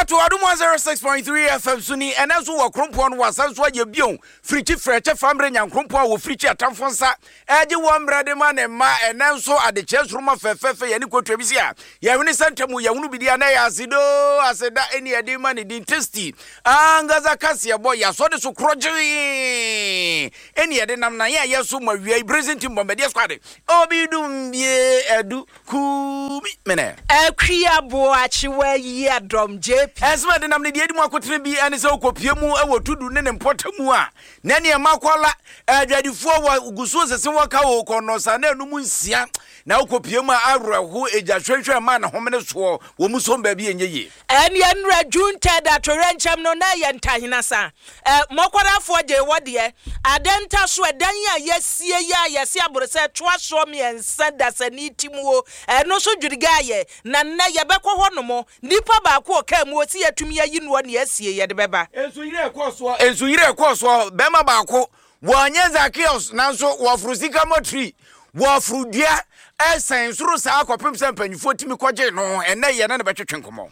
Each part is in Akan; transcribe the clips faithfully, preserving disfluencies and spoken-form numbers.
Kwato Adom one oh six point three F M so ni. Ɛnɛ nso wɔ krompɔn no wasan so ayɛ bio. Firikyi frɛkyɛ fammerɛ Nyankrompɔn a wɔfirikyi atamfo nsa ɛgye wɔ mmerɛ de ma ne mma. Ɛnɛ nso adekyerɛ nsoroma fɛfɛɛfɛ yɛne kotua bi si a yɛhwene sɛ ntamu yɛhunu bidi a na ɛyɛ asedoo aseda ɛne yɛde ma ne din Tasty ankasa kaseɛbɔ yɛasɔ de so korɔ gyee ɛne yɛde nam na yɛ a yɛ so ma wia yi Brazil team bɔmbɛdeɛ squad obi dum bie adu kumi mene. Akua Boakyewa yi adɔm J P. Ɛnsɛm a ɛde nam ne deɛ adi mu akotene bi ɛne sɛ wokɔpie mu ɛwɔ Tudu ne ne mpɔta mu a na nneɛma kɔla adwadifoɔ wɔ gu so sese wɔka wɔ kɔnɔsa na enum nsia na wokɔpie mu a awerɛho egya hwehwɛ ma ne homene soɔ wɔ mu som baabi ɛnyɛ yie. Ɛne nnura June third atowerɛnkyɛm no na ɛyɛ ntahena sa ɛ mɔkɔrafoɔ gye wɔ deɛ adɛnta so ɛdan a yɛsie yi a yɛse aboro sɛ toa soɔ mmiɛnsa dasani ti mu o, ɛno nso dwiriga ayɛ na nnɛ yɛbɛkɔ hɔ nom nipa baako ɔkaa mu osi yɛtumi ayi noɔ ne asie yɛde bɛba. Nsuyire ɛkɔɔ soɔ, nsuyire ɛkɔɔ soɔ, bɛrima baako wɔnyɛ Zakios nanso wɔforo sika mɔtiri, wɔforo dua ɛsɛn soro saa kɔpem sɛ mpanyinfoɔ tumi kɔgye no. Ɛnɛ yɛ ne ne bɛtwetwe nkɔmmɔ.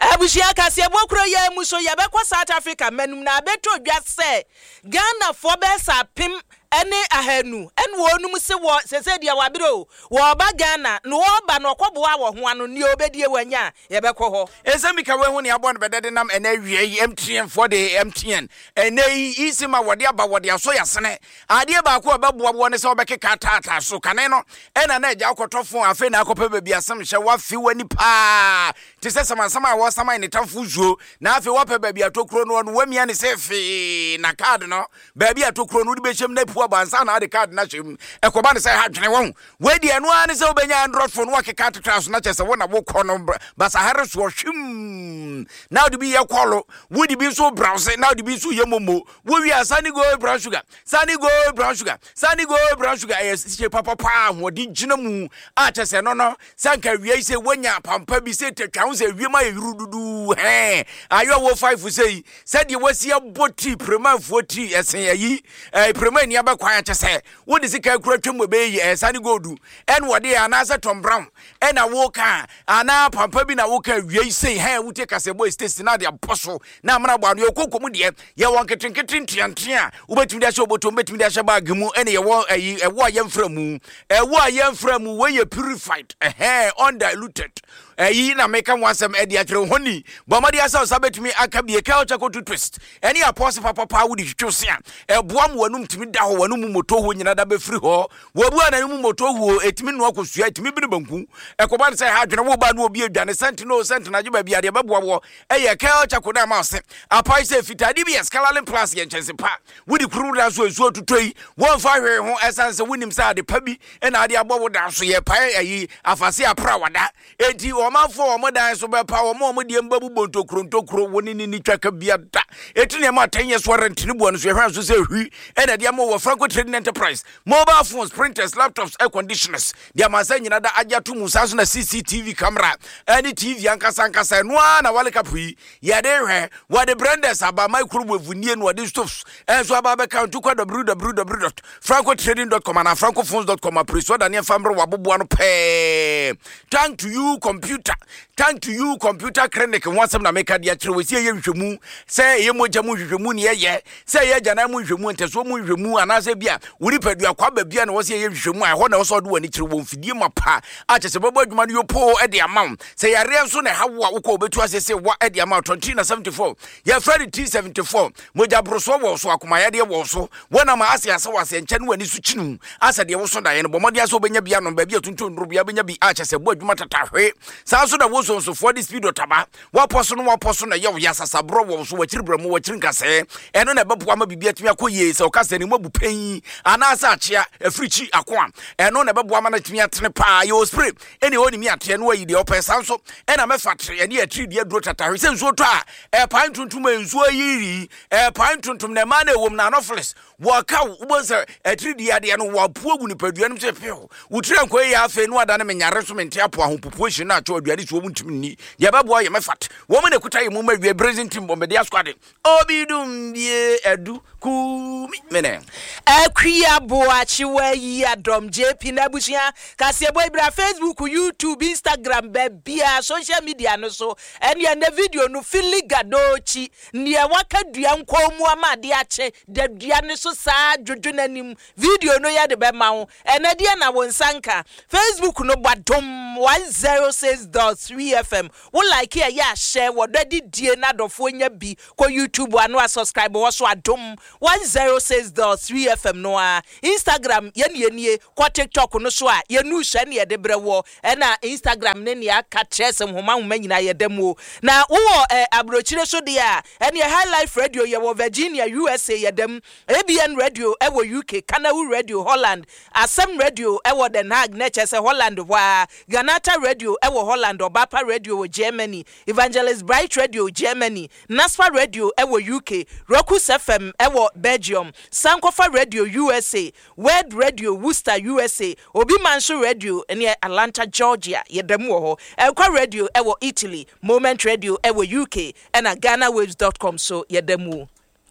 Abusua, kaseɛbɔ kuro yɛ mu so yɛbɛkɔ South Africa manum na abɛtɔ dwa sɛ Ghanafoɔ bɛyɛ sɛ apem ne ahanu ɛne wɔnum se wɔ sese deɛ wabere o wɔɔba Ghana na wɔɔba na ɔkɔboa wɔ ho ano nea obɛdie wanya a yɛbɛkɔ hɔ. Ɛsɛm bi ka wɔahu ne abɔ no bɛdɛ de nam ɛnɛ awia yi M T N foɔ de M T N ɛnɛ yi eSIM a wɔde aba wɔde asɔ yɛasene adeɛ baako a ɛbɛboa woɔ ne sɛ wobɛkeka taataa so kane no ɛna na agya wokɔtɔ phone afei na akɔpɛ baabi asɛm hyɛ woafe w'ani paa te sɛ samansam a wɔsaman ne tamfo nsuo na afei woapɛ baabi atokuro no no woamia ne sɛ fee na card no baabi atokuro no wode bɛhyɛm na apu aba ansa na ade card no ahyɛ mu. Ɛkɔba ne sɛ ha dwene wɔn wei deɛ ɛno ara ne sɛ wobɛnya Android phone wakeka atoto so na kyɛ sɛ wo na wokɔ no basahare soɔ hwim na wode bi yɛ call, wode bi nso browse na wode bi nso yɛ momo. Wowie a, Sani Gold brown sugar, Sani Gold brown sugar, Sani Gold brown sugar ɛyɛ hyɛ papapa ahoɔden gyina mu a kyɛ sɛ no no sɛ nka awia yi sɛ woanya pampa bi sɛ tatwa ho sɛ awiem ayɛ yuru dudu hɛn ayɔ wɔ five sɛ yi sɛdeɛ wasi abɔ tii premanfoɔ tii ɛsen ayi ɛɛ prema ani abɛkwan akyɛ sɛ wode sika kura twam wɔ bɛyɛ yi ɛyɛ Sani Gold ɛna wɔde yɛ anaasɛ Tom Brown ɛna woka anaa pampa bi na woka awia yi sei hɛn wotie kasɛbɔ station na de abɔ so na amena bɔ ano. Yɛkɔ kɔmu deɛ yɛwɔ nketenkete nteantea a wobɛtumi de ahyɛ obotom, wobɛtumi de ahyɛ bag mu ɛne yɛwɔ ɛyi ɛwɔ a yɛmfra mu, ɛwɔ a yɛmfra mu. Wei yɛ purified ɛhɛn undiluted ɛyi na meka ho asɛm ɛde akyerɛ ho ni. Bɔ mmɔden asɛ ɔsa bɛtumi aka bie Kel Charcoal toothpaste ɛne apɔse papapa wode twitwi se a ɛboa ma w'anum tumi da hɔ, w'anum mu moto huo nyina da bɛfiri hɔ. Wɔbu a n'anum moto huo ɛtumi noa kosua, ɛtumi bene banku. Ɛkɔba no sɛ ha adwene wo ba no obi adwane sɛnte no sɛnte no agye baabi adeɛ bɛboa wɔ ɛyɛ Kel Charcoal no ama wo se apae sɛ fitaa. D B S Colourlin Plus yɛ nkyɛnse pa wode kuru da so nsuo tutɔ yi wɔmfa hwee ho ɛsiane sɛ wonim sɛ ade pa bi ɛna ade abɔ wo dan so yɛ pae ayi afase apra wada enti ɔmanfoɔ wɔn dan so bɛpa wɔn a wɔn deɛ mbabu bɔ ntokuro ntokuro wɔn ne ne ni twaka bia da eti nneɛma atɛn yɛ so arɛntene bua no so yɛhwɛ nso sɛ hwi ɛna ɛde ama wɔ Franco Trading Enterprise mobile phones, printers, laptops, air conditioners deɛ amansa nyina da agye ato mu. Saa so na C C T V camera ɛne T V ankasa ankasa ɛno ara na World Cup yi yɛde hwɛ. Wɔde blenders aba, microwave nie na wɔde stoves ɛnso aba abɛka nto kɔ w w w dot francotrading dot com anaa francophones dot com apere so ɔda nneɛma mmerɛ waboboa no pɛɛ. Thank to You Computer, Thank to You Computer Clinic ho asɛm na meka de akyerɛ wɔ si ɛyɛ nhwehwɛmu sɛ ɛyɛ mogya mu nhwehwɛmu ne ɛyɛ sɛ ɛyɛ agyanan mu nhwehwɛmu, ntɛsoɔ mu nhwehwɛmu anaasɛ bi a wo nipadua kwa ba bia na wɔ sɛ ɛyɛ nhwehwɛmu a ɛhɔ na ɛwɔ sɛ ɔde w'ani kyerɛ wɔ mfidie ma pa a kyɛ sɛ bɛbɔ adwuma no yɔpoo ɛde ama wo. Sɛ yareɛ nso na ɛha wo a wokɔ wobɛtu ase sɛ wa ɛde ama wo tɔnti na seventy-four yɛfrɛ no T seventy-four. Mogya borosoɔ wɔ so, akomayadeɛ wɔ so, wɔnam ase ase wɔ ase nkyɛn ne w'ani so kyinu asɛ deɛ woso daeɛ no bɔ mmɔden sɛ wobɛnya bi anom baabi a tuntun nnuro bia wobɛnya bi a kyɛ sɛ bɔ adwuma tatahwe. Saa nso na wo nsonsofoɔ de speed ɔtaba wapɔ so no wapɔ so na ɛyɛ wo yɛ asasaborɔ wɔ so wakyiri brɛ mu wakyiri nkasɛɛ ɛno na ɛbɛboa ma biribi atumi akɔ yie. Sɛ ɔka sɛ ne mu abu pɛn anaasɛ akyea afiri kyi ako a ɛno na ɛbɛboa ma no atumi atene paa. Yɛwɔ spray ɛne ɛwɔ ne mi ateɛ no ayi deɛ ɔpɛ. Saa nso ɛna mɛfa tere ɛne atiri deɛ aduro tatahwe sɛ nsuo tɔ a ɛpae ntontom a nsuo yiri ɛpae ntontom na ɛmaa no ɛwɔ mu na anopheles wɔka wo wobɛhu sɛ atiri deɛ adeɛ no wɔapo agu nipadua no mu sɛ pew wotiri ankɔ yie. Afei no adane menyare so mente apo ahopopoɔ hyi no atwo. mpakyɛw aduane si wɔn ntumi nni. Deɛ ɛbɛboa yɛ mɛfat. Wɔn na ɛkuta yɛ mu ma wie Brazil team bɔmbɛde asquad. Obi dum bie adu kumi mene. Akua Boakye wayi adɔm J P n'abusua kaseɛbɔ ibra Facebook, YouTube, Instagram, baabia social media no so. Ɛne ɛnɛ video no fili gadokyi nea waka dua nkɔn mu ama ade akye da dua no so saa dwodwo n'anim. Video no yɛde bɛma wo ɛnɛ deɛ na wo nsa nka Facebook no bɔ Adom one zero six point three F M. Wo like, ɛyɛ ahyɛ wɔdɔ didie na adɔfoɔ nya bi. Kɔ YouTube ano a subscribe wɔ so, Adom one zero six point three F M no a. Instagram yɛne yɛnie. Kɔ TikTok no so a, yɛnu hyɛ ne yɛde brɛ wɔ. Ɛna Instagram ne nea aka kyerɛ sɛ nhoma nhoma nyinaa yɛda mu o. Na wowɔ ɛ aburokyire so deɛ a, ɛneɛ High Life Radio yɛwɔ Virginia, U S A, yɛda mu. A B N Radio ɛwɔ U K, Kanawu Radio Holland, Asɛm Radio ɛwɔ Den Haag na ɛkyɛ sɛ Holland hɔ a, Ganata Radio ɛwɔ Holland, Ɔbapa Radio wɔ Germany, Evangelist Bright Radio Germany, Naspa Radio ɛwɔ U K, Rokus F M ɛwɔ Belgium, Sankofa Radio U S A, Word Radio Worcester, U S A, Obi Manso Radio ɛne Atlanta, Georgia, yɛda mu wɔ hɔ. Ɛnkwa Radio ɛwɔ Italy, Moment Radio ɛwɔ U K, ɛna ghanawaves dot com so yɛda mu.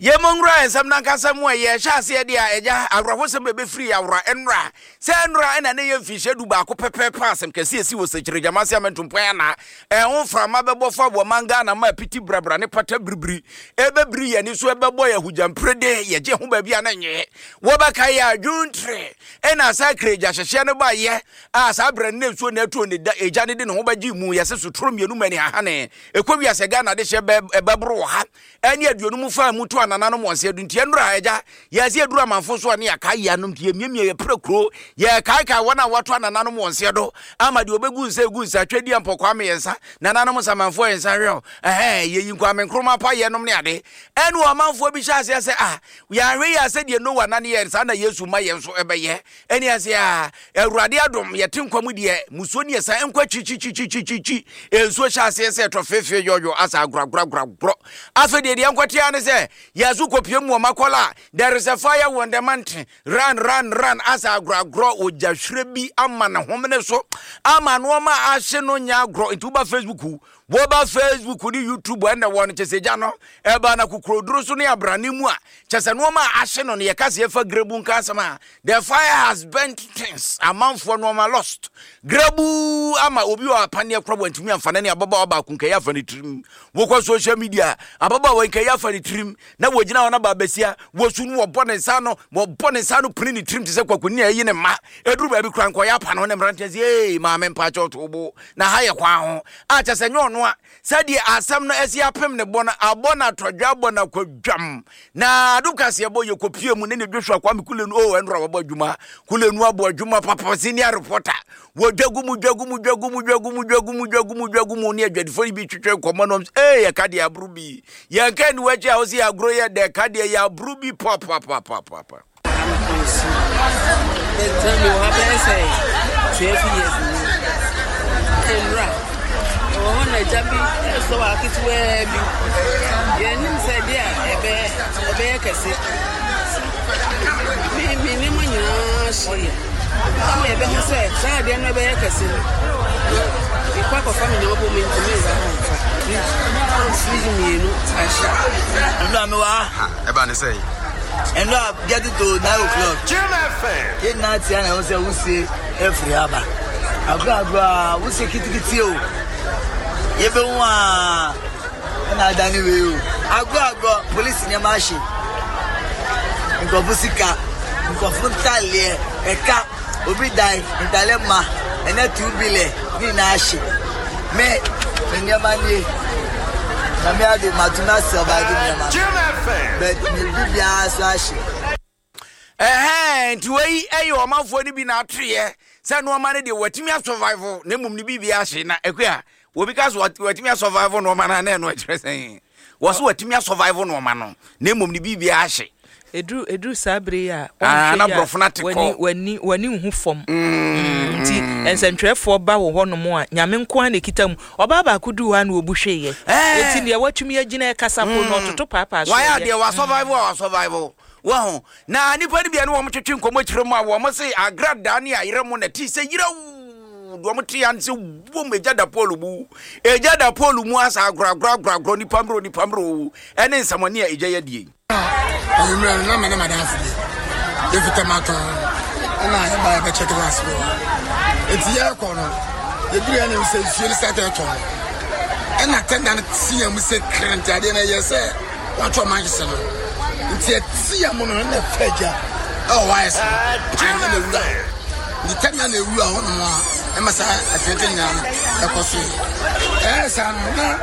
Yɛmɔ nwura nsɛm nankasa mu a yɛhyɛ aseɛ deɛ a, ɛgya awerɛhosɛm bɛbɛfiri awora nnora sɛ nnora ɛna ne yɛ mfihyɛ du baako pɛpɛɛpɛ. Asɛm kɛseɛ si wɔ Sɛkyerɛgyama se amɛntompɔn ana ɛho mframa bɛbɔ fa wɔ man Ghana ma apiti brabra ne pata biribiri ɛbɛbiri yɛni so, ɛbɛbɔ yɛ ahogyampire yɛgye ho baabi a na nyɛ wɔbɛka yɛ adwontere. Ɛna saa kiregya hyehyɛ no baayɛ a, saa berɛ no ne nsuo na ɛtuo ne da ɛgya ne de ne ho bɛgye mu. Yɛsɛ sotoro mmienu ma ni hahane ɛkɔ wiasɛ Ghana de hyɛ ɛbɛboro wɔ ha ɛne aduonum fa mu to anananom wɔn sɛ nti ɛnora agya yɛsɛ yɛduru amanfo so a ne yɛkae yɛ anom nti yɛmiamia yɛpere kuro, yɛkaekae wɔn a wɔato anananom wɔn seɛ do ama deɛ ɔbɛgu nsa egu nsa twɛ di mpɔkwa mmiɛnsa nananom nsamanfoɔ yɛ nsa hwɛ ɛhɛn yɛyi Nkwame Nkrumah pa yɛnom ne ade. Ɛne ɔmanfoɔ bi hyɛ aseɛ sɛ ah, yɛahwɛ yɛ asɛ deɛ Noa nane yɛ saa na Yesu ma yɛn nso ɛbɛyɛ. Ɛne ase a Awurade adom yɛte nkwa mu deɛ musuo ne yɛsan nkɔ akyikyikyikyikyi. Nsuo hyɛ aseɛ sɛ ɛtɔ feefee yɔyɔ asa agorɔagorɔagorɔ. Afei deɛ deɛ nkɔtea ne sɛ yɛso kɔpie mu wɔ Makɔla a, there is a fire on the mountain, run, run, run. Asa agorɔagorɔ ogya hwerɛ bi ama ne homene so ama nneɛma ahye no nyɛ agorɔ. Nti woba Facebook woba Facebook ne YouTube ɛnna wɔ no kyɛ sɛ gya no ɛba na kokoroduro so ne abrane mu a kyɛ sɛ nneɛma a ahye no no yɛka sɛ yɛfa grebu nka asɛm a, the fire has burnt things. Amanfoɔ nneɛma lost grebu ama obi wɔ apaneɛ korɔ wantumi amfa ne ne ababaawa baako nkɛyɛ afa ne tirim. Wokɔ social media, ababaawa nkɛyɛ afa ne tirim na wɔgyina hɔ na baabasia wɔsu no, wɔbɔ ne nsa no wɔbɔ ne nsa no pene ne tirim te sɛ kwakuni a ɛyi ne mma. Ɛduru baabi kora nkɔyɛ apa no ne mmeranteɛ sɛ ee maame, mpakyɛw to bo na ha yɛ kwan ho a kyɛ sɛ nyɛ ɔno a sɛdeɛ asɛm no asi apem ne bɔ no abɔ no atɔdwa abɔ no akwadwam. Na adom kaseɛ bɔ yɛkɔpie mu ne ne Joshua Kwame Kulenu o, ɛnora wɔbɔ adwuma. Kulenu abɔ adwuma papa, senior reporter. Wɔdwa gu mu, dwa gu mu, dwa gu mu, dwa gu mu, dwa gu mu, dwa gu mu, dwa gu mu ne adwadifoɔ yi bi twetwe nkɔmmɔ nom. Ee, yɛka deɛ aboro bi yɛnka ni wakyi a wo sɛ yɛagorɔ yɛ dɛ ka deɛ yɛ aboro bi papapapapapa. Mewɔ ha bɛyɛ sɛ twelve years ni. Nwura ɛwɔ hɔ na agya bi ɛsɔ wɔ aketewaa bi. Yɛnim sɛ deɛ a ɛbɛyɛ ɛbɛyɛ kɛse. Me me nneɛma nyinaa hyeeɛ. Ama yɛbɛhu sɛ saa adeɛ no ɛbɛyɛ kɛse no. Na mekɔ akɔfa me nneɛma bɔ mu ntumi nsa hɔ mfa. Fridge mmienu ahye. Ndra mi wɔ ha. Ɛba ne sɛ Ndra getting to nine o'clock. Yɛn nyinaa tia na ɛwɔ sɛ wusie efiri aba. Agorɔ agorɔ a wusie kitikiti o. Yɛbɛhu a ɛna adane wei o. Agorɔ agorɔ polisi nneɛma ahye. Nkurɔfo sika, nkurɔfo ntaaleɛ, ɛka obi dan ntaaleɛ ma ɛnɛ two billion ne nyinaa ahye. Me me nneɛma nie. Na me ade matumi asurvive nneɛma no. But me bibiara so ahye. Ɛhɛn, nti wei ɛyɛ ɔmanfoɔ no bi na atoyɛ sɛ nneɛma no deɛ watumi asurvive na mmom ne biribi ahye. Na akua obi ka so watumi asurvive nneɛma no a, na ɛno ɛkyerɛ sɛn? Wɔ so watumi asurvive nneɛma no na mmom ne biribi ahye. Eduru eduru saa bere yi a Ah, na wɔnhwɛ yi a, borɔfo no ate w'ani kɔ. w'ani w'ani nhu fam. Mm, nti nsɛntwerɛfoɔ ba wɔ hɔnom a, Nyame nko ara na ekita mu. Ɔbaa baako duu hɔ a na obu hweeɛ. Eh. Eti deɛ watumi agyina ɛkasa po na ɔtoto paapaa so. Wayɛ yɛ. Adeɛ wasurvive a wasurvive wɔho na nipa no bia ne wɔn twetwe nkɔmmɔ kyerɛ mu a, wɔn se agradaa ne ayerɛ mu na ti sɛ yerɛw. Deɛ ɔmo te ya no sɛ wom, egya da pole mu, egya da pole mu asa agorɔ agorɔ agorɔ agorɔ, nipa mmerɛ, nipa mmerɛ o, ɛne nsɛmɔne a egya yɛ die. Anwummerɛ no, na me ne madamfo bi yɛfita matɔn, ɛna yɛba yɛbɛkyɛke bus bi wɔ hɔ. Nti yɛrekɔ no, yɛduru yɛ ne sɛ nsuo no start ɛtɔ no, ɛna tɛnda no teɛ mu sɛ kra, nti adeɛ no ɛyɛ sɛ wɔatɔ ɔmanhyɛ no, nti ɛteɛ mu no na ɛfa agya ɛwɔ wires no pan na ɛwura hɔ, nti tɛnda na ɛwura hɔ nom a ɛma saa atɛntɛ nyinaa no ɛkɔ so yi. Ɛyɛ saa no na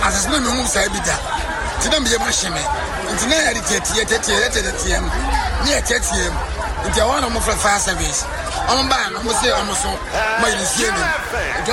asase na mehu saa bi da, nti na meyɛ mahye me, nti na yɛde teɛteɛ teɛteɛ teɛteɛ mu ne yɛteɛteɛ mu, nti ɛhɔ na ɔmofrɛ fire service, ɔmo baa no, ɔmo sɛ ɔmo so ma yɛ nsuo nim nti.